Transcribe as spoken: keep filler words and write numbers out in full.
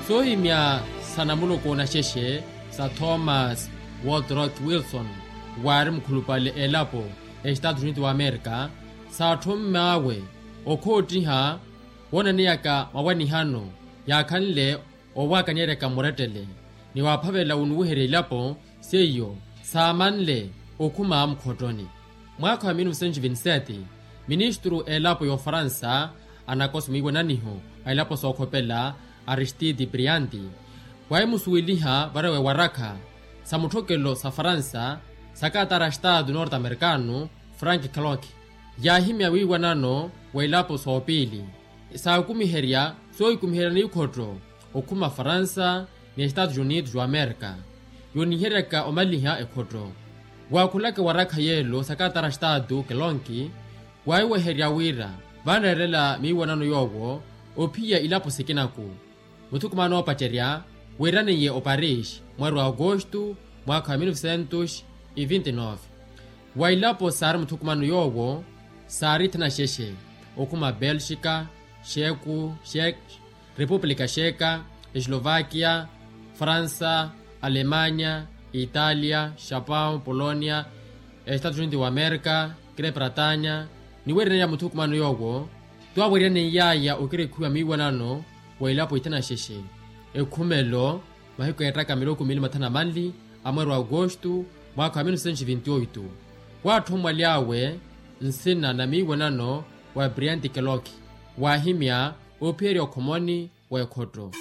Soohimya sa namuluku naxexe sa thomas waldroth wilson, waari mukhulupale elapo ya estados unidos wa amerika, saatthomm'awe okhoottiha woonaneyaka mawanihano yaakhanle owaakanyereka mmurettele ni waaphavela wunuwiherya ilapo seiyo saamanle okhuma mukhottoni. Mwaakha wa mil novecentos e vinte sete, ministru a elapo ya ofaransa anakosa mwiiwananiho a elapo sookhopela aristide brianti waahimusuweliha varewa ewarakha sa mutthokelo sa faransa sa katara a estado norte americano frank clock, yaahimya wiiwanano wa elapo soopiili saakumiherya soohikumiherya n'ikhotto okhuma faransa ni estados unidos wa amerika yooniheryaka omaliha ekhotto. Waakhulaka ewarakha yeelo sa katara a estado kelonki waahiweherya wira vaaneerela miiwanano yoowo ophiya ilapo sikinaku. Muthukumano oopacerya wiiraniye oparis mweeri wa agosto mwaakha wa mil novecentos e vinte nove. Wa ilapo saari muthukumano yoowo saari thanaxexe okhuma belxika, xeku, xek, repupulika xeka, eslovakia, faransa, alemanya, italia, xapão polonia, estados unidos wa amerika, grepratanya. Niweererya muthukumano yoowo twaweeryaneiyaaya okirekhiwa miiwanano wa ilapo ithanaxexe ekhumelo mahiku eettaka miloko miili mathanu na manli a mweeri wa agosto mwaakha wa mil novecentos e vinte oito. Waatthommwaly'awe nsina na miiwanano wa brianti keloki waahimya oophiyerya okhomoni wa ekhotto.